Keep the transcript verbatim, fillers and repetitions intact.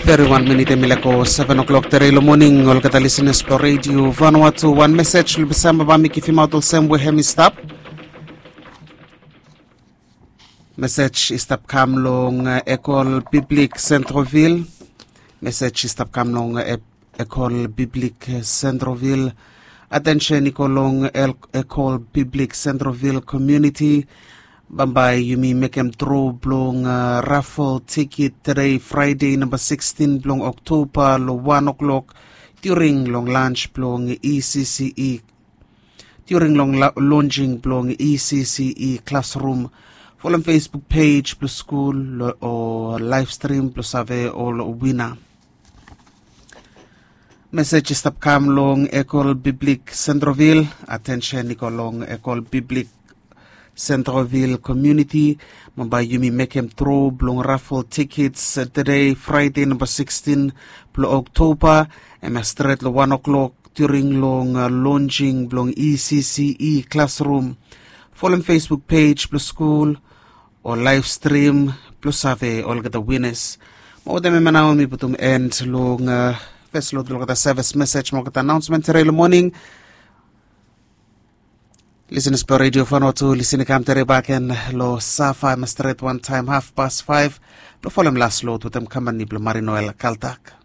Teri wan minit em i laik go seven o'clock teri long moning. Olgeta lisenas blong redio Vanuatu, wan mesej long bisamba ba mi givimaot olsem we hem i stap. Mesej i stap kam long Ekol Biblik Centroville. Mesej i stap kam long Ekol Biblik Centroville. Atensen i go long Ekol Biblik Centroville komuniti. Bambae yumi mekem dro blong rafel tikit tede Fraede namba sikstin blong Oktoba long wan o'klok during long lans blong E C C E, during long lonsing blong E C C E klasrum. Folem Facebook pej blong skul o laev strim blong save ol wina. Mesej i stap kam long Ekol Biblik Centroville. Atensen i go long Ekol Biblik Centroville komuniti. Bambae yumi mekem dro blong rafel tikits tede Fraede namba sikstin blong Oktoba. Hem ya stret long wan o'klok during long lonsing blong E C C E klasrum. Folem Facebook pej blong skul o laev strim blong save olgeta winas. Mo wetem hem ya nao mi putum en long fes lod long olgeta sevis mesej mo olgeta anaonsmen tede long moning. Lisenas blong redio Vanuatu, lisen i kam tede bakegen long safa hem ya stret wantaem hafpas faef blong folem las lod wetem kamani blong Marinoel Kaltak.